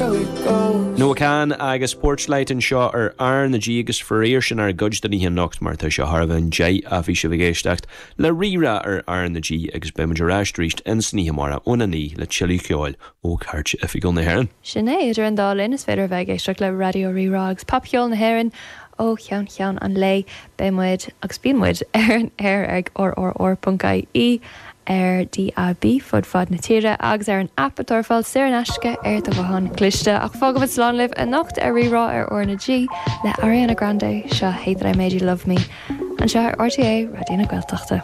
Noah Kahan agus Porchlight anseo ar R na G agus faraor sin ár gcuid den oíche anocht mar tá sé thar a bheith an 10 ach bhí sibh ag éisteacht le Rí-Rá ar R na G agus beidh muid ar ais arís ins an oíche amárach óna 9 le tuilleadh ceoil ó Chairt Oifigiúil na hÉireann. Sin é, idir an dá linn is féidir a bheith ag éisteacht le Raidió Rí-Rá agus popcheol na hÉireann ó cheann ceann an lae. Beidh muid, agus bíonn muid, ar an aer ag rrr.ie, ar DAB fud fad na tíre agus ar an aip atá ar fáil saor in aisce ar do ghuthán cliste. Ach fágfaimid slán libh anocht ar Rí-Rá ar R na G le Ariana Grande, seo Hate That I Made You Love Me, anseo ar RTÉ Raidió na Gaeltachta.